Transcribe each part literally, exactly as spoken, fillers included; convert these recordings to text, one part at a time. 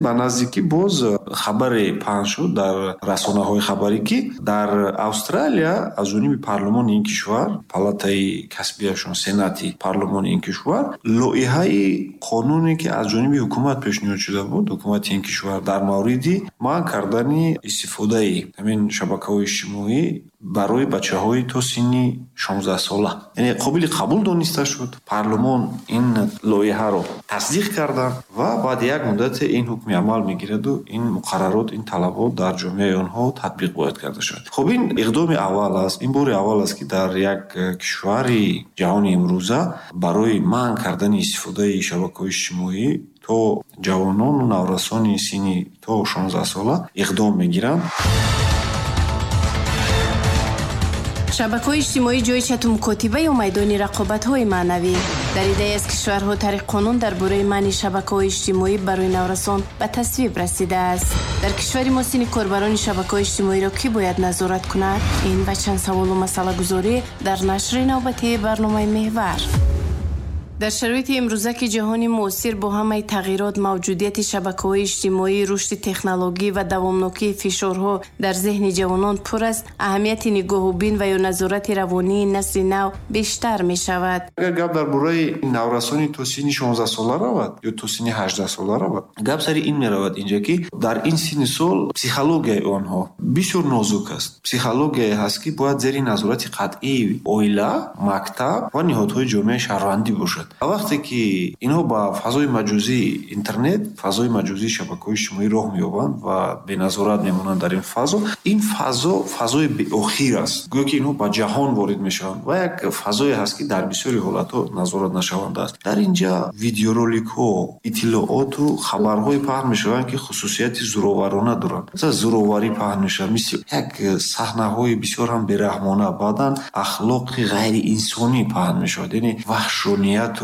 Ба наздикӣ боз хабаре паҳн шуд дар расонаҳои хабарӣ, ки дар Австралия аз ҷониби парлумони ин кишвар, палатаи касбияшон, сенати парлумони ин кишвар, лоиҳаи қонуне, ки аз ҷониби ҳукумат пешниҳод шуда буд, ҳукумати ин кишвар дар мавриди манъ кардани истифодаи ҳамин шабакаҳои иҷтимоӣ барои бачаҳои то синни шонздаҳсола, яъне қобили қабул дониста шуд. Парлумон ин лоиҳаро тасдиқ карданд ва баъди як муддате ин ҳукми амал мегираду ин муқаррарот, ин талабот дар ҷомеаи онҳо татбиқ бояд карда шавад. Хуб, ин иқдоми аввал аст, ин бори аввал аст, ки дар як кишвари ҷаҳони имрӯза барои манъ кардани истифодаи шабакаҳои иҷтимоӣ то ҷавонону наврасони синни то шонздаҳсола иқдом мегиранд. Шабакаҳои иҷтимоӣ ҷои чату мукотиба ё майдони рақобатҳои маънавӣ. Дар иддаи аз кишварҳо тариқ қонун дар бораи манъи шабакаҳои иҷтимоӣ барои наврасон ба тасвиб расидааст. Дар кишвари мо синни корбарони шабакаҳои иҷтимоиро кӣ бояд назорат кунад? Ин ва чанд саволу масъалагузорӣ дар нашри навбатии барномаи «Меҳвар». Дар шароити имрӯза, ки ҷаҳони муосир бо ҳамаи тағйирот, мавҷудияти шабакаҳои иҷтимоӣ, рушди технологӣ ва давомнокии фишорҳо дар зеҳни ҷавонон пур аст, аҳамияти нигоҳубин ва ё назорати равонии насли нав бештар мешавад. Агар гап дар бораи наврасони то синни шонздаҳсола равад ё то синни ҳаждаҳсола равад, гап сари ин меравад инҷа, ки дар ин синни сол психологияи онҳо бисёр нозук аст. Психологияе ҳаст, ки бояд зери назорати қатъии оила, мактаб ва ниҳодҳои ҷомеаи шаҳрвандӣ бошад. Вақте ки инҳо ба фазои маҷозии интернет, фазои маҷозии шабакаҳои иҷтимоӣ роҳ меёбанд ва беназорат мемонанд дар ин фазо, ин фазо фазои беохир аст. Гӯё ки инҳо ба ҷаҳон ворид мешаванд ва як фазое ҳаст, ки дар бисёри ҳолатҳо назорат нашаванда аст. Дар инҷа видеороликҳо, иттилооту хабарҳое паҳн мешаванд, ки хусусияти зӯроварона доранд. Масалан, зӯроварӣ паҳн мешавад, мисли як саҳнаҳои бисёр ҳам бераҳмона, баъдан ахлоқи ғайриинсонӣ паҳн мешавад, яъне ваҳшонияту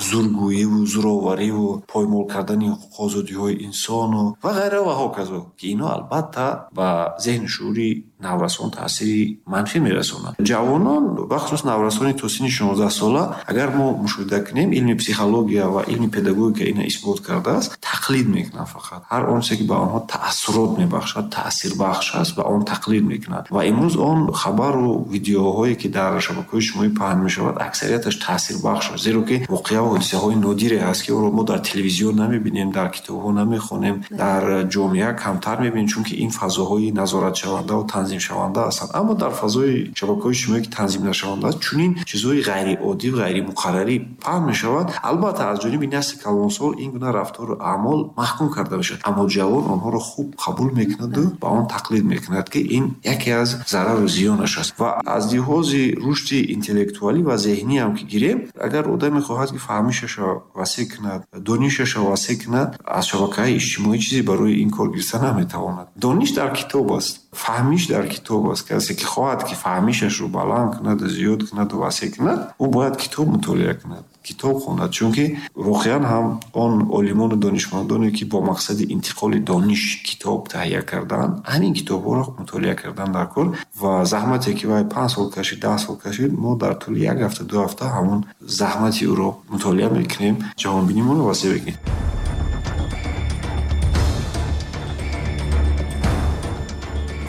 зургӯиву зӯровариву поймол кардани ҳуқуқу озодиҳои инсону ва ғайра ва ҳоказо, ки инҳо албатта ба зеҳну шуури наврасон таъсири манфӣ мерасонанд. Ҷавонон, бахусус наврасони то синни шонздаҳсола, агар мо мушоҳида кунем, илми психология ва илми педагогика ина исбот кардааст, тақлид мекунанд фақат. Ҳар он чизе, ки ба онҳо таассурот мебахшад, таъсирбахш аст, ба он тақлид мекунанд. Ва имрӯз он хабару видеоҳое, ки дар шабакаҳои иҷтимоӣ паҳн мешавад, аксарияташ таъсирбахш аст, зеро ки воқеа ва ҳодисаҳои нодире ҳаст, ки онро мо дар телевизион намебинем, дар китобҳо намехонем, дар ҷомеа камтар мебинем, чунки ин фазоҳои назоратшаванда ва танзимшаванда ҳастанд. Аммо дар фазои шабакаҳои иҷтимоӣ, ки танзим нашаванда аст, чунин чизҳои ғайриоддӣ ва ғайримуқаррарӣ паҳн мешавад. Албатта, аз ҷониби насли калонсол ин гуна рафтору аъмол маҳкум карда мешавад, аммо ҷавон онҳоро хуб қабул мекунаду ба он тақлид мекунад, ки ин яке аз зарару зиёнаш аст. Ва аз лиҳози рушди интеллектуалӣ ва зеҳнӣ ҳам ки гирем, агар одам мехоҳад, ки фаҳмишашро васеъ кунад, донишашро васеъ кунад, аз шабакаҳои иҷтимоӣ чизе барои ин кор гирифта наметавонад. Дониш дар китоб аст, фаҳмиш дар китоб аст. Касе ки хоҳад, ки фаҳмишашро баланд кунад, зиёд кунад ва васеъ кунад, ӯ бояд китоб мутолиа кунад, китоб хонад, чунки воқеан ҳам он олимону донишмандоне, ки бо мақсади интиқоли дониш китоб таҳия карданд, ҳамин китобҳоро мутолиа кардан дар кор ва заҳмате, ки вай панҷ сол кашид, даҳ сол кашид, мо дар тӯли як ҳафта, ду ҳафта ҳамон заҳмати ӯро мутолиа мекунем, ҷаҳонбинимонро васеъ мекунем.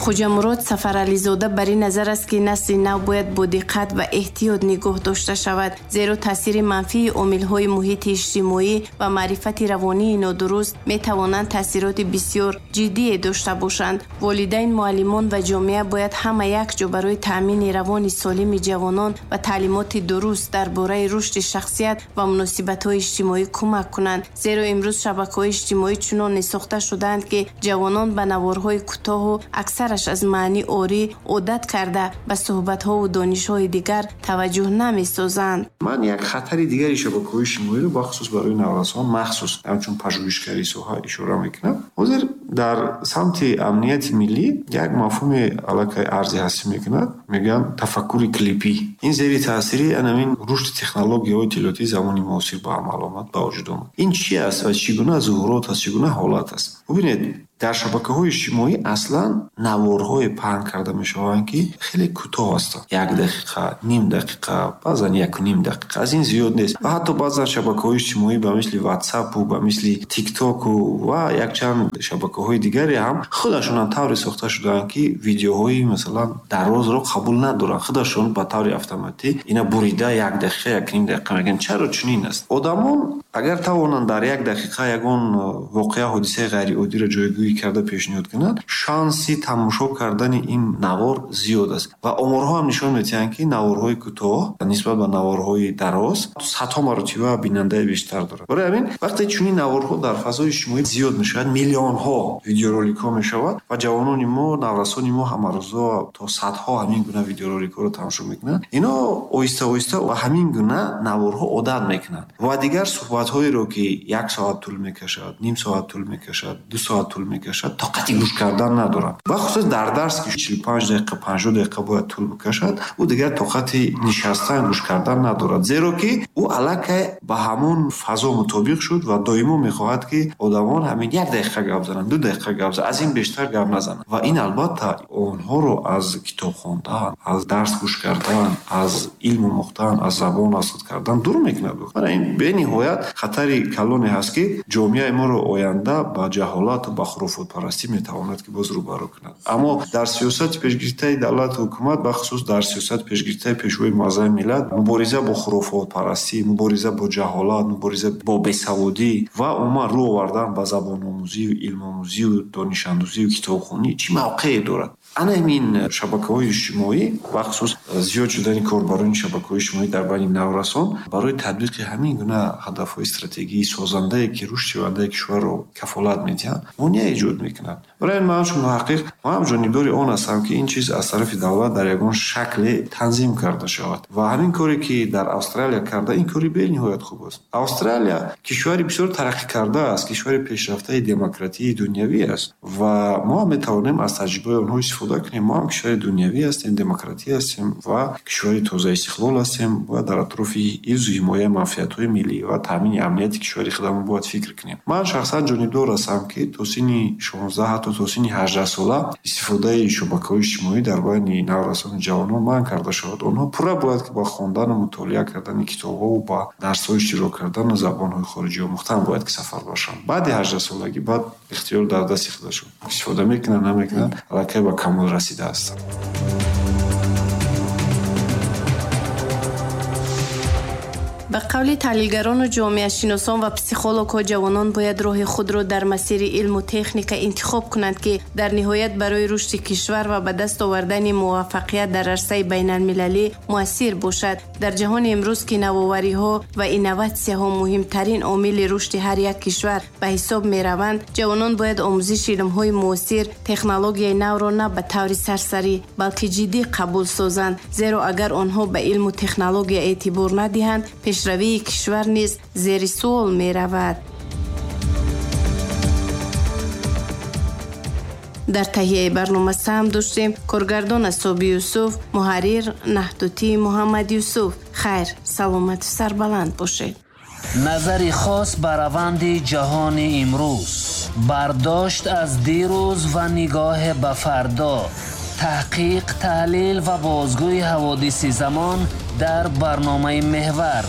Хоҷамурод Сафарализода бар ин назар аст, ки насли нав бояд бо диққат ва эҳтиёт нигоҳ дошта шавад, зеро таъсири манфии омилҳои муҳити иҷтимоӣ ва маърифати равонии нодуруст метавонанд таъсироти бисёр ҷиддие дошта бошанд. Волидайн, муаллимон ва ҷомеа бояд ҳама якҷо барои таъмини равони солими ҷавонон ва таълимоти дуруст дар бораи рушди шахсият ва муносибатҳои иҷтимоӣ кӯмак кунанд, зеро имрӯз шабакаҳои иҷтимоӣ чунон сохта шудаанд, ки ҷавонон ба наворҳои кӯтоҳу аксар аз маъни орӣ одат карда ба суҳбатҳову донишҳои дигар таваҷҷӯҳ намесозанд. Ман як хатари дигари шабакаҳои иҷтимоиро бахусус барои наврасон, махсус ҳамчун пажӯҳишгари соҳа ишора мекунам. Ҳозир дар самти амнияти миллӣ як мафҳуми аллакай арзи ҳастӣ мекунад, мегӯянд тафаккури клипӣ. Ин зери таъсири анамин рушди технологияҳои иттилоотии замони муосир ба амал омад, ба вуҷуд омад. Ин чи аст ва чӣ гуна зуҳурот аст, чӣ гуна ҳолат аст? Бубинед, Дар шабакаҳои иҷтимоӣ аслан наворҳое паҳн карда мешаванд, ки хеле кӯтоҳ ҳастанд. Як дақиқа, ним дақиқа, баъзан яку ним дақиқа, аз ин зиёд нест. Ва ҳатто баъзан шабакаҳои иҷтимоӣ ба мисли WhatsApp-у, ба мисли TikTok-у ва якчанд шабакаҳои дигаре ҳам худашон ҳам тавре сохта шудаанд, ки видеоҳои масалан дарозро қабул надоранд. Худашон ба таври автоматӣ ина бурида як дақиқа, як ним дақиқа мегӯянд. Чаро чунин аст? Одамон агар тавонанд дар як дақиқа ягон воқеа, ҳодисаи ғайриоддиро ҷойгӯӣ карда пешниҳод кунанд, шанси тамошо кардани ин навор зиёд аст. Ва оморҳо ҳам нишон медиҳанд, ки наворҳои кӯтоҳ нисбат ба наворҳои дароз садҳо маротиба бинандаи бештар дорад. Барои ҳамин вақте чунин наворҳо дар фазои иҷтимоӣ зиёд мешавад, миллионҳо видеороликҳо мешавад ва ҷавонони мо, наврасони мо ҳамарӯза то садҳо ҳамин гуна видеороликҳоро тамошо мекунанд. Ино оҳиста оҳиста ба ҳамин гуна наворҳо одат мекунанд ва дигар суҳбатҳоеро, ки як соат тӯл мекашад, ним соат тӯл мекашад, ду соат тӯл мекашад, тоқати гӯш кардан надоранд. Ва хусусан дар дарс, ки чилу панҷ дақиқа, панҷоҳ дақиқа бояд тӯл бикашад, ӯ дигар тоқати нишастан, гӯш кардан надорад, зеро ки ӯ аллакай ба ҳамон фазо мутобиқ шуд ва доимо мехоҳад, ки одамон ҳамин як дақиқа гап зананд, ду дақиқа гап зананд, аз ин бештар гап назананд. Ва ин албатта онҳоро аз китоб хондан, аз дарс гӯш кардан, аз илм омӯхтан, аз забон аз худ кардан дур мекунад. Барои ин бениҳоят хатари калоне ҳаст, ки ҷомеаи моро оянда ба ҷаҳолат ва ба хурофотпарастӣ метавонад ки боз рӯбарӯ кунад. Аммо дар сиёсати пешгирифтаи давлату ҳукумат, бахусус дар сиёсати пешгирифтаи пешвои муаззами миллат, мубориза бо хурофотпарастӣ, мубориза бо ҷаҳолат, мубориза бо бесаводӣ ва умуман рӯ овардан ба забономӯзию илмомӯзию донишандӯзию китобхонӣ чӣ мавқее дорад? Ана ҳамин шабакаҳои иҷтимоӣ, бахусус зиёд шудани корбарони шабакаҳои иҷтимоӣ дар байни наврасон, барои татбиқи ҳамин гуна ҳадафҳои стратегии созандае, ки рушди ояндаи кишварро кафолат медиҳанд, монеа эҷод мекунанд. Барои ин ман чун муҳаққиқ, ман ҳам ҷонибдори он ҳастам, ки ин чиз аз тарафи давлат дар ягон шакле танзим карда шавад. Ва ҳамин коре, ки дар Австралия карда, ин кори бениҳоят хуб аст. Австралия кишвари бисёр тараққӣ карда аст, кишвари пешрафтаи демократии дунявӣ аст ва мо ҳам метавонем аз таҷрибаи онҳо истифода кунем. Мо ҳам кишвари дунявӣ ҳастем, демократӣ ҳастем ва кишвари тозаистиқлол ҳастем. Бояд дар атрофи ҳифзу ҳимояи манфиатҳои миллӣ ва таъмини амнияти кишвари худамон бояд фикр кунем. Ман шахсан ҷонибдор ҳастам, ки то синни шонздаҳ ҳатто то синни ҳаждаҳ сола истифодаи шабакаҳои иҷтимоӣ дар байни наврасону ҷавонон манъ карда шавад. Онҳо пурра бояд ки ба хондану мутолиа кардани китобҳову ба дарсҳо иштирок кардану забонҳои хориҷӣ омӯхтан бояд ки сафар бошанд. Баъди ҳаждаҳсолагӣ баъд ихтиёр дар дасти худашон, истифода мекунанд, намекунанд, аллакай ба камол расида ҳастанд. Ба қавли таҳлилгарону ҷомеашиносон ва психологҳо, ҷавонон бояд роҳи худро дар масири илму техника интихоб кунанд, ки дар ниҳоят барои рушди кишвар ва ба даст овардани муваффақият дар арсаи байналмилалӣ муассир бошад. Дар ҷаҳони имрӯз, ки навовариҳо ва инноватсияҳо муҳимтарин омили рушди ҳар як кишвар ба ҳисоб мераванд, ҷавонон бояд омӯзиши илмҳои муосир, технологияи навро на ба таври сарсарӣ, балки ҷиддӣ қабул созанд. Зеро агар онҳо ба илму технология эътибор надиҳанд, пешравии кишвар низ зери суол меравад. Дар таҳияи барнома саҳм доштем коргардон Асоби Юсуф, муҳаррир Наҳдутӣ Муҳаммад Юсуф. Хайр, саломату сарбаланд бошед. Назари хос ба раванди ҷаҳони имрӯз, бардошт аз дирӯз ва нигоҳ ба фардо, таҳқиқ, таҳлил ва бозгӯи ҳаводиси замон дар барномаи Меҳвар.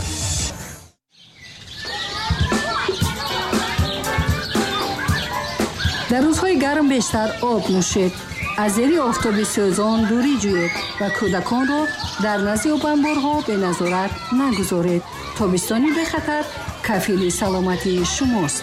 Дар рӯзҳои гарм бештар об нӯшед, аз зери офтоби сӯзон дурӣ ҷӯед ва кӯдаконро дар назди обанборҳо беназорат нагузоред. Тобистони бехатар кафили саломатии шумост.